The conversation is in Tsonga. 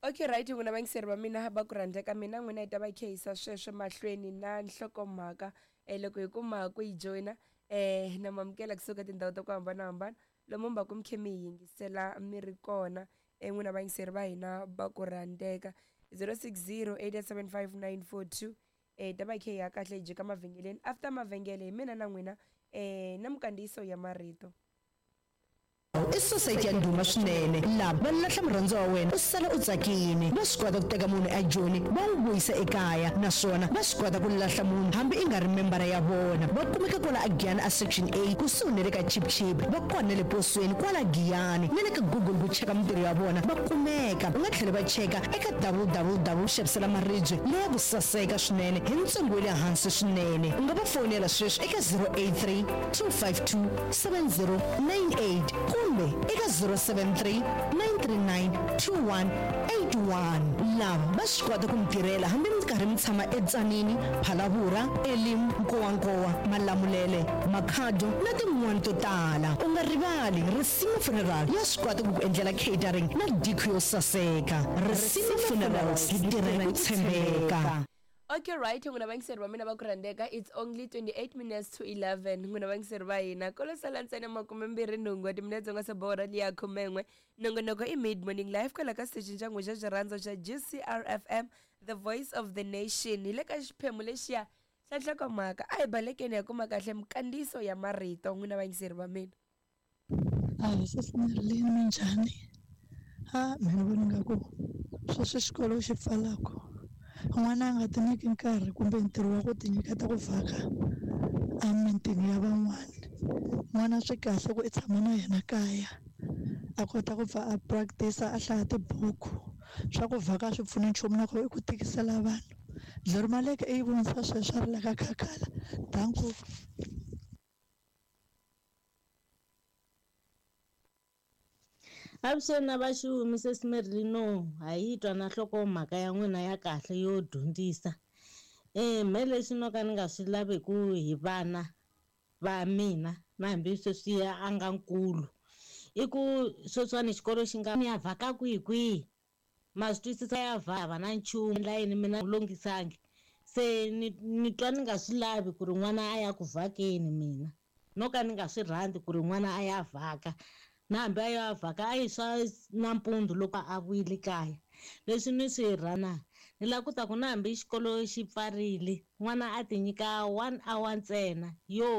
Okay right n'wina vayingiseri va mina va ku rhandza ka mina n'wina hi ta va khehisa sweswo mahlweni na nhlokomhaka loko hi kuma ku yi joyina na mamukela kusuka tindhawu ta ku hambanahambana lomu mi va ku mi khe mi hi yingisela mi ri kona n'wina vayingiseri va hina va ku rhandzeka 060 875 942 hi ta va hi khe hi ya kahle hi jika mavhengeleni after mavhengele hi mina na n'wina na minkandziyiso ya marito. I sosayiti ya ndhuma swinene. Lava va lahla murhandziwa wa wena u sala u tsakile. Va swi kota ku teka munhu eJoni va n'wi vuyisa ekaya naswona va swi kota ku lahla munhu hambi i nga ri membara ya vona. Va kumeka kwala aGiyani a Section A kusuhi na le ka Chip Chip. Va kona na le posweni kwala Giyani na le ka Google ku cheka mintirho ya vona va kumeka. U nga tlhela va cheka eka www. Xavisela maribye leya ku saseka swinene hi ntsengo wa le hansi swinene. U nga va fowunela sweswi eka 083 252 7098 kumbe eka 073 939 2181. Lava va swi kota ku mi tirhela hambi mi karhi mi tshama eTzaneen, Phalaborwa, Elim, Nkowankowa, Malamulele, Makhado na tin'wana to tala. U nga rivali, Risima Funeral ya swi kota ku ku endlela catering na decor yo saseka. Risima Funerals, hi tirha hi ku tshembeka. Okay right n'wina vayingiseri va mina va ku rhandzeka it's only 28 minutes to 11 n'wina vayingiseri va hina kolo sala ntsena makumembirhi nhungu wa timinetse u nga se borha liya khumen'we nongonoko i mid morning live kwala ka xitichini xa n'we xa xirhandzo xa GCR FM the voice of the nation hi le ka xiphemu lexiya xa nhlokomhaka a hi balekeni ya kuma kahle minkandziyiso ya marito n'wina vayingiseri va mina. Ahee sesi Marilyn minjhani? A mehe ni vona ingaku sweswi xikolo xi pfalaku n'wana a nga ti nyiki nkarhi kumbe ntirho wa ku ti nyiketa ku vhaka emimitini ya van'wana n'wana swi kahle ku i tshama na yena kaya a kota ku pfa a practice a hlaya tibuku swa ku vhaka a swi pfuni nchumu na ku i ku tikisela vanhu Dlori Maleke i yi vonisa sweswo a ri la ka Khakhala danko. Avuxeni na vaxumi sesi Merlino ha yi twa na nhlokomhaka ya n'wina ya kahle yo dyondzisa. Me lexi no ka ni nga swi laviku hi vana va mina na hambi sweswiya a nga nkulu i ku sweswiwani xikolo xi nga ni ya vhaka kwihi kwihi Ma swi twisisa ya vava na nchumu endla yini mina longisangi se ni ni twa ni nga swi lavi ku ri n'wana a ya ku vhakeni mina no ka ni nga swi rhandzi ku ri n'wana a ya vhaka na hambi a ya vhaka a yi swa nampundzu loko a vuyile kaya leswi ni swi rhana ni lava ku ta ku na hambi xikolo xi pfarile n'wana a ti nyika one hour ntsena yo.